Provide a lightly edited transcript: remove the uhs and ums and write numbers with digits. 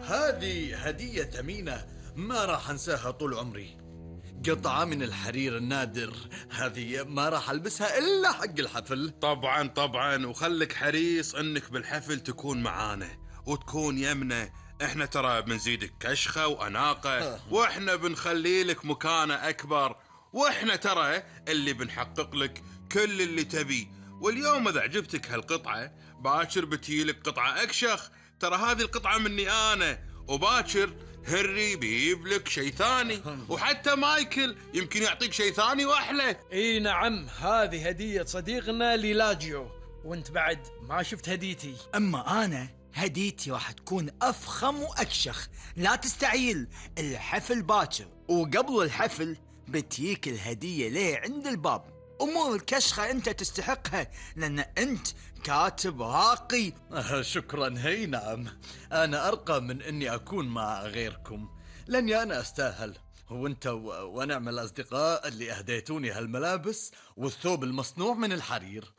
هذه هدية ثمينة ما راح أنساها طول عمري. قطعة من الحرير النادر، هذه ما راح ألبسها إلا حق الحفل. طبعا طبعا، وخلك حريص انك بالحفل تكون معانا وتكون يمنا. احنا ترى بنزيدك كشخة وأناقة، واحنا بنخلي لك مكانة أكبر، واحنا ترى اللي بنحقق لك كل اللي تبي. واليوم إذا عجبتك هالقطعة باكر بتجيلك قطعة أكشخ. ترى هذه القطعة مني أنا، وباكر هنري بيجيب لك شيء ثاني، وحتى مايكل يمكن يعطيك شيء ثاني وأحلى. اي نعم، هذه هدية صديقنا ليلاجيو، وانت بعد ما شفت هديتي. أما أنا هديتي راح تكون أفخم وأكشخ. لا تستعيل، الحفل باكر، وقبل الحفل بتيك الهدية ليه عند الباب. أمور الكشخة أنت تستحقها، لأن أنت كاتب راقي. شكرا. هي نعم، أنا أرقى من أني أكون مع غيركم، لأني أنا أستاهل. وانت ونعم الأصدقاء اللي أهديتوني هالملابس والثوب المصنوع من الحرير.